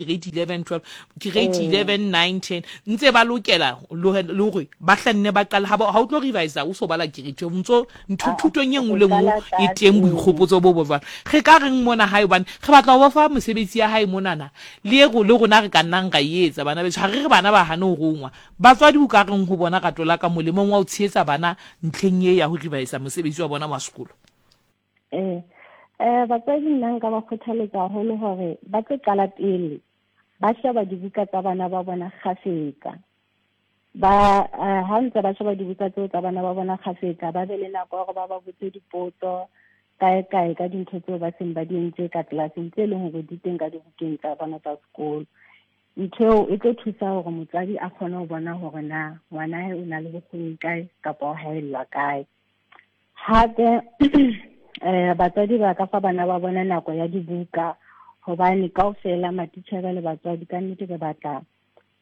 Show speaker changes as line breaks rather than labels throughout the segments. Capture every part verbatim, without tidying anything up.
Grade eleven, twelve, grade eleven, nine, ten, ntse ba lokela le hore ba hlanne ba qala. Ha o tlo revise o so bala grade twelve, ntso ntho thutong e nngwe le nngwe e teng boikgopotso bo bo jwalo. Re ka reng mona hae, hobane re batla ho ba fa mosebetsi ya hae monana le e le rona re ka nnang ra e etsa, bana beso. Ha re re bana ba hane ho rongwa, batswadi o ka reng ho bona rato la ka molemong wa ho tshehetsa bana ntlheng e ya ho revise mosebetsi wa bona wa sekolo?
Eh, eh batswadi nna nka ba kgothaletsa haholo hore ba tlo qala pele ba sheba dibuka tsa bana ba bona kgafetsa. Ba ha ntse ba sheba dibuka tseo tsa bana ba bona kgafetsa, ba be le nako ya hore ba ba botse dipotso kae kae ka dintho tseo ba seng ba di entse ka tlelaseng, tse leng hore di teng ka dibukeng tsa bona tsa sekolo. Ntho eo e tlo thusa hore motswadi a kgone ho bona hore na ngwana hae o na le bokgoni kae kapa o haellwa kae. Hape eh batswadi ba ka fa bana ba bona nako ya dibuka, hobane kaofela matitjhere le batswadi ka nnete re batla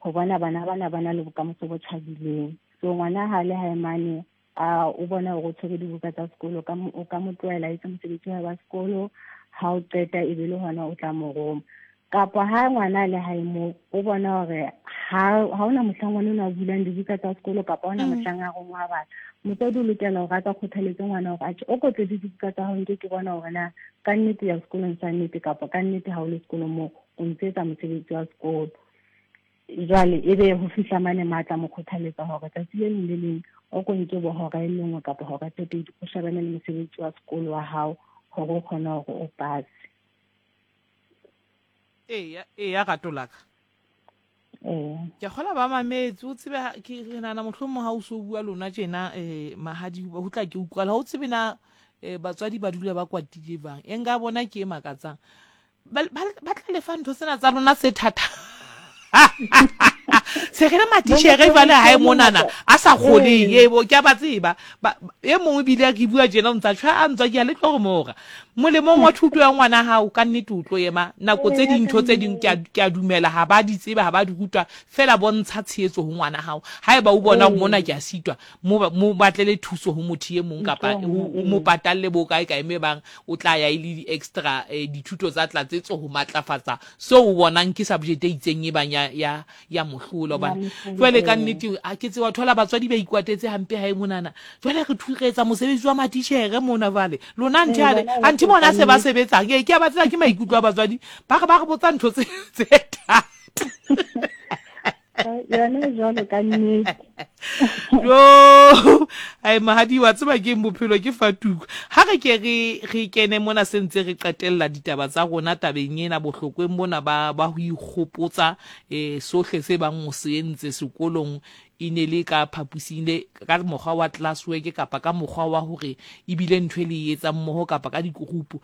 ho bona bana bana ba na le bokamoso bo tjhabileng. So ngwana ha le hae mane a o bona hore o tshwere dibuka tsa sekolo, ka o ka mo tlohela a etse mosebetsi wa hae wa sekolo, ha o qeta e be le hona o tla mo roma. Kapa ha ngwana a le hae moo o bona hore ha ha hona mohlang ngwana enwa a bulang dibuka tsa sekolo kapa hona mohlang a rongwa bana, motswadi o lokela hore a ka kgothaletse ngwana hore atjhe o kotle dibuka tsa hao, nke ke bona hore na ka nnete ya sekolong sa nnete kapa ka nnete ha o le sekolong moo o ntse etsa mosebetsi wa sekolo. Jwale ebe ho fihla mane matla mo kgothaletsa hore tsatsi le leng le leng o ko nke bo hora e le nngwe kapa hora tse pedi o shebane le mosebetsi wa sekolo wa hao hore o kgone hore o pase.
Eya, eya rato la ka.
Ee.
Ke kgola ba mametse, o tsebe ke re nahana mohlomong ha o so bua lona tjena eh mahadi ho tla ke utlwala, ha o tsebe na eh batswadi ba dula ba kwatile bang. E nka bona ke e makatsang. Ba ba tla lefa ntho tsena tsa lona tse thata. Se re le matitjhere jwale hae monana a sa kgoneng, e bo ke a ba tseba. E mongwe ebile ke bua tjena o ntsa tjha a ntswa ke a le tlo re mora. Molemong wa thuto ya ngwana hao ka nnete o tlo ema nako tse dintho tse ding ke a ke a dumela ha ba di tseba ha ba di rutwa, fela bontsha tshehetso ho ngwana hao. Haeba o bona hore mona ke a sitwa, mo mo batlele thuso ho motho e mong kapa o mo patalle bo kae kae me bang o tla ya e le di-extra dithuto tsa tlatsetso ho matlafatsa seo o bonang ke subject e itseng e bang ya ya ya mohlola. Hobane jwale ka nnete ha ke tseba thola batswadi ba ikwatetse hampe hae monana. Jwale re re etsa mosebetsi wa matitjhere mona jwale lona nthe ale anthe bona se ba sebetsang. Ee, ke a ba tseba, ke maikutlo a batswadi ba re ba re botsa ntho tse tse thata.
Yona jwalo ka nnete.
Jo, ai mahadi wa tseba ke bophelo ke fatuko. Ha re ke re re kene mona se ntse re qetella ditaba tsa rona tabeng ena bohlokweng bona ba ba ho ikgopotsa eh sohle se bang o se entse sekolong e ne le ka phapusing le ka mokgwa wa classwork kapa ka mokgwa wa hore ebile ntho e le e etsang mmoho kapa ka dikurupu.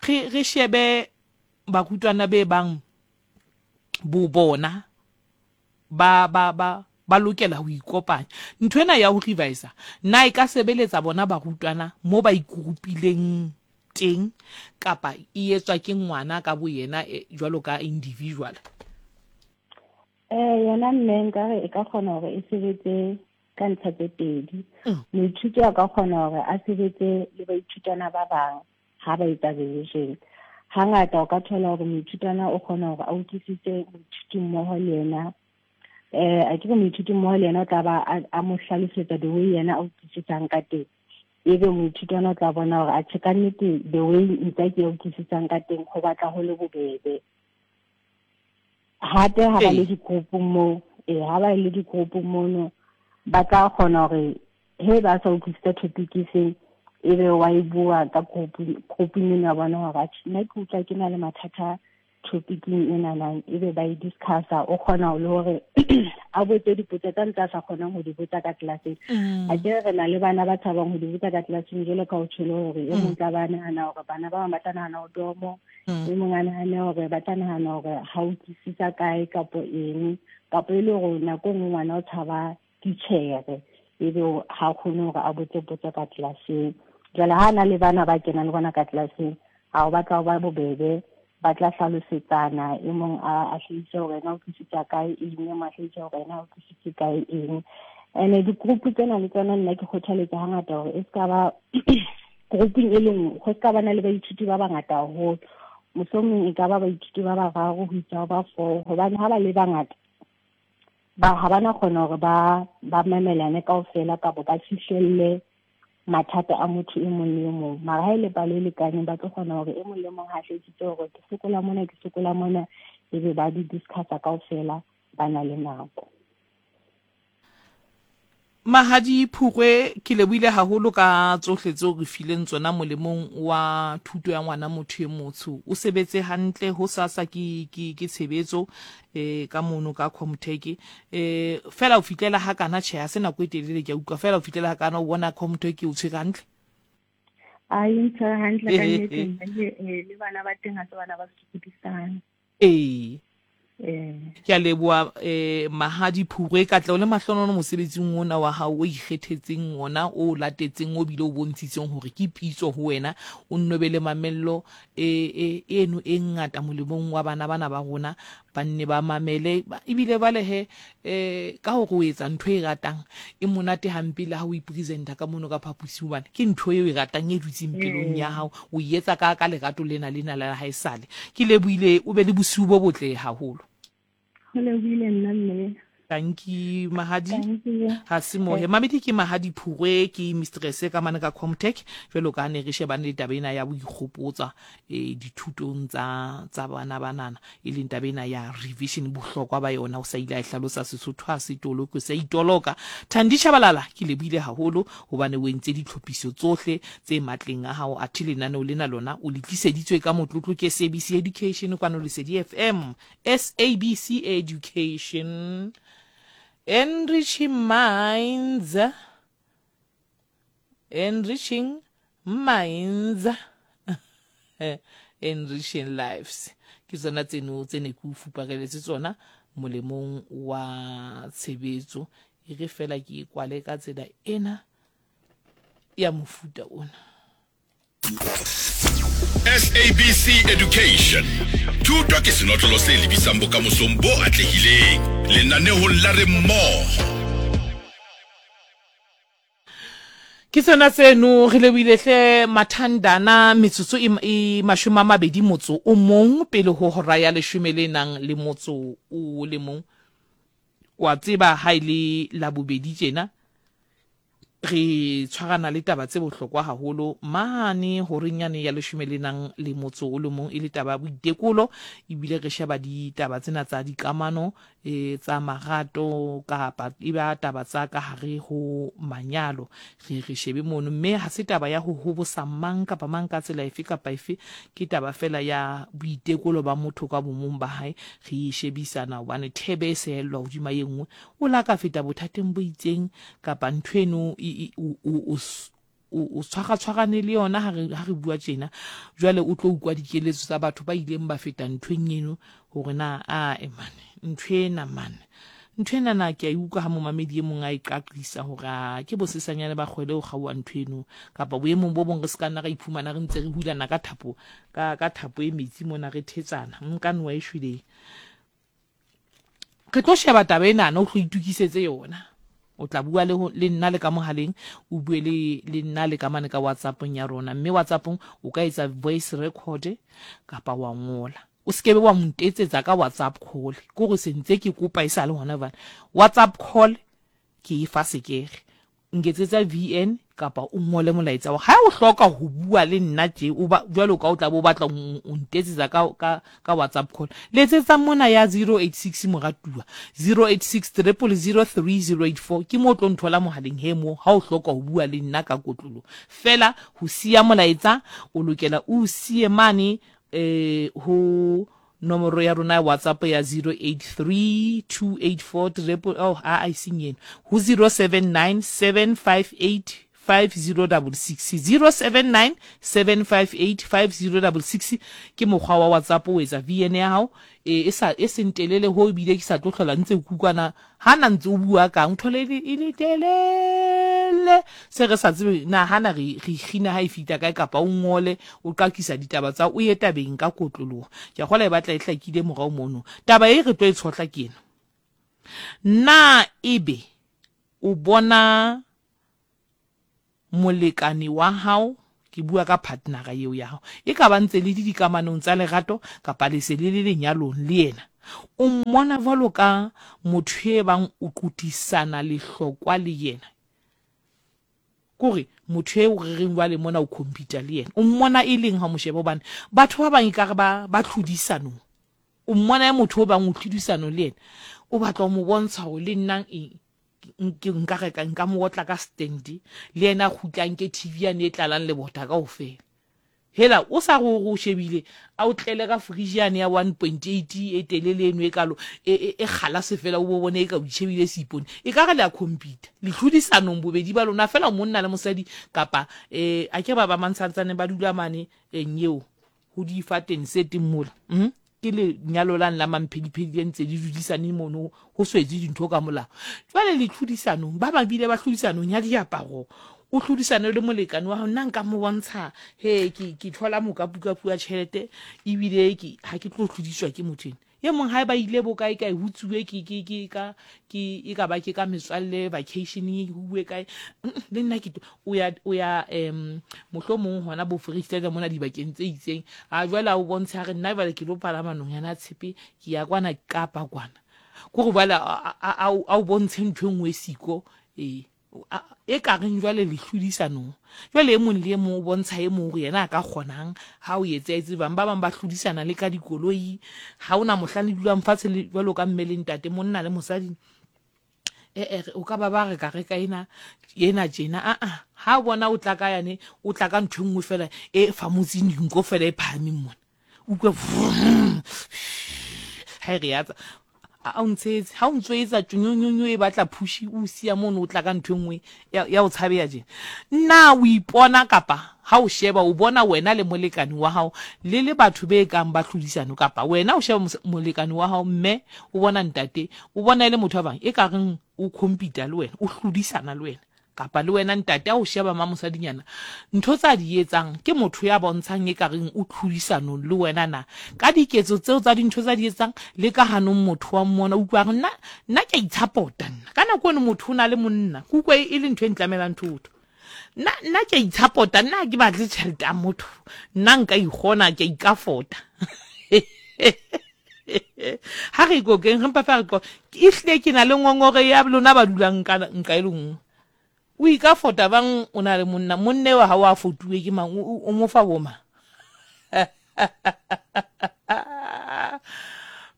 Re re shebe barutwana be bang bo bona ba ba ba ba lokela ho ikopanya. Ntho ena ya ho revise na e ka sebeletsa bona barutwana mo ba ikurupileng teng kapa e etswa ke ngwana ka bo yena jwalo ka individual?
Eh yona mme nkare e ka kgona hore e sebetse ka ntlha tse pedi. Moithuti a ka kgona hore a sebetse le baithutwana ba bang ha ba etsa revision. Hangata o ka thola hore moithutwana o kgona hore a utlwisise moithuti mmoho le yena. Eh a ke moithuti mmoho le yena o tla ba a mo hlalosetsa the way yena a utlwisisang ka teng. Ebe moithutwana o tla bona hore atjhe ka nnete the way ntse ke utlwisisang ka teng ho batla ho le bobebe. Hape ha ba le di-group moo, eh ha ba le di-group mono ba tla kgona hore he ba sa utlwisisa topic e feng, ebe wa e bua ka group grouping ena ya bona hore atjhe nna ke utlwa ke na le mathata topicing enana, ebe ba e discussa. O kgona le hore a botse dipotso tsa ntse a sa kgonang ho di botsa ka tlelaseng. A ke re na le bana ba tshabang ho di botsa ka tlelaseng, jwalo ka o tjholo hore e mong tla ba nahana hore bana ba bang ba tla nahana o domo, e mong a nahane hore ba tla nahana hore ha o utlwisisa kae kapo eng, kapo e le hore nako e nngwe ngwana o tshaba titjhere ebe ha kgone hore a botse potso ka tlelaseng. Jwale ha na le bana ba kenang le bona ka tlelaseng, ha o batla ho ba bobebe, ba tla hlalosetsana, e mong a a hlahise hore yena o utlwisisa kae eng, e mong a hlahise hore yena o utlwisitse kae eng. Ene di-group tsena le tsona nna ke kgothaletsa hangata hore e ska ba grouping e le nngwe, ho ska ba na le baithuti ba bangata haholo. Mohlomong e ka ba baithuti ba bararo ho isa ho ba four, hobane ha ba le bangata ba ha bana kgona hore ba ba mamelane kaofela kapa ba fihlelle mathata a motho e mong le e mong. Mara ha e le palo e lekaneng, ba tlo kgona hore e mong le mong ha hlahisitse hore ke sokola mona, ke sokola mona, ebe ba di discussa kaofela, ba na le nako.
Mahadi Phukwe, ke lebohile haholo ka tsohle tseo re fileng tsona molemong wa thuto ya ngwana motho e motsho. O sebetse hantle ho sasa ke ke ke tshebetso eh ka mono ka Comtech. Eh fela o fitlela ha kana tjhe ha se nako e telele ke a utlwa fela o fitlela ha kana o bona Comtech o tshwere hantle.
A e ntshwere hantle ka nnete, mme le bana ba teng ha se bana ba sokodisang.
Ee.
Eh.
Ke a leboha eh Mahadi Phukwe, katleho le mahlonono mosebetsing ona wa hao o ikgethetseng ona, o latetseng, o bile o bontshitseng hore ke pitso ho wena. O nno be le mamello e e eno e ngata molemong wa bana bana ba rona, ba nne ba mamele ebile ba lehe eh ka hore o etsa ntho e ratang e monate hampe le ha o ipresenta ka mono ka phaposing, hobane ke ntho eo e ratang e dutseng pelong ya hao, o e etsa ka ka lerato lena lena la haesale. Ke lebohile, o be le bosiu bo botle haholo.
Ho lebohile nna mme.
Tanki Mahadi.
Thank you.
Ha se mohe. Mamedi ke Mahadi Phukwe, ke mistress ka mane ka Comtech, jwalo ka ne re shebane le taba ena ya boikgopotsa eh dithutong tsa tsa bana banana, e leng taba ena ya revision, bohlokwa ba yona o sa ile a e hlalosa Sesotho ha se tolokwe, se itoloka. Thandi Tshabalala, ke lebohile haholo hobane o entse ditlhophiso tsohle tse matleng a hao, athe lenaneo lena lona o le tliseditswe ka motlotlo ke S A B C Education kwano Lesedi F M. S A B C Education, enriching minds, enriching minds, enriching lives. Ke tsona tseno tse ne ke o fupareletse tsona molemong wa tshebetso. E re fela ke e kwale ka tsela ena ya mofuta ona.
S A B C Education. Thuto ke senotlolo se lebisang bokamosong bo atlehileng. Lenanehong la Re Mmoho.
Ke sona seno re lebohile hle Mathandana, metsotso e, e mashome a mabedi motso o mong pele ho hora ya leshome le nang le motso o le mong. Wa tseba ha e le la bobedi tjena re tshwarana le taba tse bohlokwa haholo mane horeng yane ya leshome le nang le motso o le mong, e le taba ya boitekolo, ebile re sheba ditaba tsena tsa dikamano e tsa marato kapa e ba taba tsa ka hare ho manyalo. Re re shebe mono, mme ha se taba ya ho hobosa mang kapa mang ka tsela efe kapa efe, ke taba fela ya boitekolo ba motho ka bomong ba hae. Re shebisana hobane thebe e sehellwa hodima e nngwe, o la ka feta bothateng bo itseng kapa ntho eno e o o o tshwara-tshwarane le yona ha re ha re bua tjena. Jwale o tlo utlwa dikeletso tsa batho ba ileng ba feta nthweng eno hore na a e mane ntho ena mane ntho ena na ke a e utlwa ha momamedi e mong a e qaqisa hore a ke bosesanyane ba kgwele ho kgaoha ntho eno, kapa boemong bo bong re se ka nna ra iphumana re ntse re hulana ka thapo ka ka thapo e metsi mona re thetsana nka noa e shweleng. Re tlo sheba taba ena, o tlo itukisetse yona. O tla bua le le nna le ka mohaleng, o bue le le nna le ka mane ka WhatsAppong ya rona, mme WhatsAppong o ka etsa voice record kapa wa ngola. O sekebe wa ntetsetsa ka WhatsApp call, ke hore se ntse ke kopa e sa le hona jwale. WhatsApp call ke e fa sekere, nketsetsa V N kapa o ngole molaetsa wa ha o hloka ho bua le nna tje, o ba jwalo ka o tla bo batla o ntetsetsa ka ka ka WhatsApp call. Letsetsa mona ya zero eight six moratuwa zero eight six triple zero three zero eight four, ke mo tlo nthola mohaleng he mo ha o hloka ho bua le nna ka kotlolo. Fela ho siya molaetsa o lokela o siye mane eh ho nomoro ya rona ya WhatsApp ya zero eight three two eight four triple oh a e seng eno ho zero seven nine seven five eight five zero double six, zero seven nine seven five eight five zero double six ke mokgwa wa WhatsApp o etsa V N ya hao e sa e seng telele ho ebile ke sa tlo hlola ntse kukwana ha na ntse o bua kang thole e le telele se re sa tsebe na hana re re kgina ha e fita kae, kapa o ngole o qakisa ditaba tsa o ye tabeng ka kotloloho. Ke a kgola e batla e hlakile morao mono. Taba e re tlo e tshohla ke ena, na ebe o bona molekane wa hao, Ke bua ka partnera eo ya hao. E ka ba ntse le le dikamanong tsa lerato kapa le se le le lenyalong le yena. O mmona jwalo ka motho e bang o qotisana lehlokwa le yena. Kore motho eo re reng jwale mona o compete le yena. O mmona e leng ha o mo sheba, hobane batho ba bang ekare ba ba tlhodisanong. O mmona e motho o bang o tlhodisanong le yena. O batla ho mo bontsha hore le nna eng ke nka reka nka mo otla ka stand le yena a kgutle a nke T V yane e tlalang lebota kaofela. Hela o sa re o o shebile a o tlele ka fridge yane ya one point eight e telele eno e kalo e e e kgalase fela, o bo bone e ka o itjhebile seipone. E ka re le a compete le tlhodisanong bobedi ba lona fela, monna le mosadi, kapa eh a ke ba ba mantshantsaneng ba dula mane eng eo ho difateng se teng mola. mm? Ke lenyalo lane la mamphediphedi le ntse le dudisane mono, ho swetse dintho ka molao. Jwale le tlhodisanong, ba bang bile ba tlhodisanong ya diaparo. O tlhodisane le molekane wa hao, nna nka mo bontsha he ke ke thola mokapukapu wa tjhelete, ebile ke ha ke tlo tlhodiswa ke motho ena. E mong ha ba ile bo kae kae, ho tsuwe ke ke ke ka ke e ka ba ke ka metswalle vacationeng, ho uwe kae, le nna ke o ya o ya em mohlomong hona bo Foreisetata mona dibakeng tse itseng. A jwale a o bontshe, a re nna jwale ke lo palama nonyana tshepe, ke ya kwana Kapa kwana. Kore jwale a o bontshe ntho e nngwe e siko, e e ka reng jwale le hlodisanong. Jwale e mong le e mong o bontsha e mong hore yena a ka kgonang ha o etse etse bang. Ba bang ba hlodisana le ka dikoloi. Ha ona mohlang le dulang fatshe le jwalo ka mme le ntate, monna le mosadi, e e o ka ba ba re ka reka ena ena tjena. A a ha bona o tla ka yane, o tla ka ntho e nngwe fela e famotseng dinko fela e phahameng mona, utlwe ha e re ya tsa a o ntshetse, ha o ntso etsa tjonyonyonyo e batla phushi, o siya mono, o tla ka ntho e nngwe ya o tshabeya tjena. Nna o ipona kapa ha o sheba o bona wena le molekane wa hao le le batho be kang ba tlhodisano, kapa wena o sheba molekane wa hao, mme o bona ntate, o bona e le motho wa bang e ka reng o compete le wena, o hlodisana le wena, kapa le wena ntate a o sheba ma mosadinyana, ntho tsa di etsang ke motho ya bontshang e ka reng o tlhodisanong le wena na ka diketso tseo tsa dintho tsa di etsang le ka hanong. Motho wa mmona, utlwa re nna nna ke a itshapota nna ka nako eno motho o na le monna, ke utlwa e le ntho e ntlamelang thotho. Nna nna ke a itshapota nna, ha ke batle tjhelete ya motho, nna nka ikgona, ke a ikafota. Ha re ikokeng, re mpa fa re ehlile ke na le ngongore ya lona ba dulang nka nka e le nngwe. O ikafota bang o na le monna, monna wa ha o a fotuwe ke mang, o mo fa bo mang?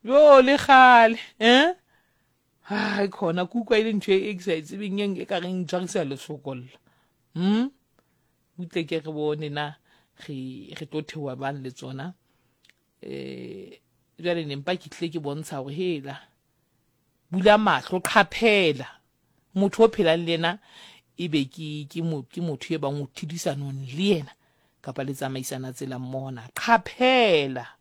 Yo le kgale eh hai khona ke utlwa e le ntho e ke sa e tsebeng, e ka reng ntshwarisa lesokolla. Hm butle ke re bone na re re tlo theoha bang le tsona. Eh jwale ne mpa ke tlile ke bontsha hore hela bula mahlo, qhaphela motho o phelang le yena, ebe ke ke ke motho e bang o tlhodisanong le yena kapa le tsamaisana tsela mmoho na. Qhaphela.